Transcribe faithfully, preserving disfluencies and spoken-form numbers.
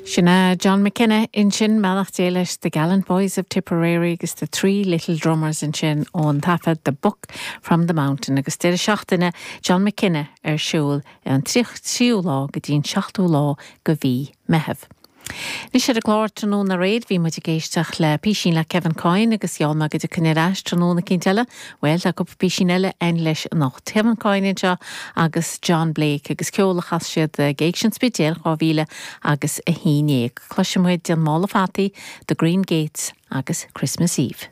Sin é John McKenna ansin beannacht Dé leis the Gallant Boys of Tipperary agus the Three Little Drummers ansin ón taifead The Book from the Mountain agus deireadh seachtaine John McKenna ar siúl an tríú lá go dtí an seachtú lá de mhí Meitheamh. Anois ar an gclár tráthnóna aréir bhí muid ag éisteacht le písín le Kevin Coyne agus gheall mé go dtiocfainn ar ais tráthnóna eicínt eile, Well tá cúpla písín eile ann leis anocht. Kevin Coyne anseo agus John Blake agus ceol a chas siad ag Éigse an Spidéil dhá mhíle agus a haon déag. Cloisfidh muid an Mála Fataí, The Green Gates agus Christmas Eve.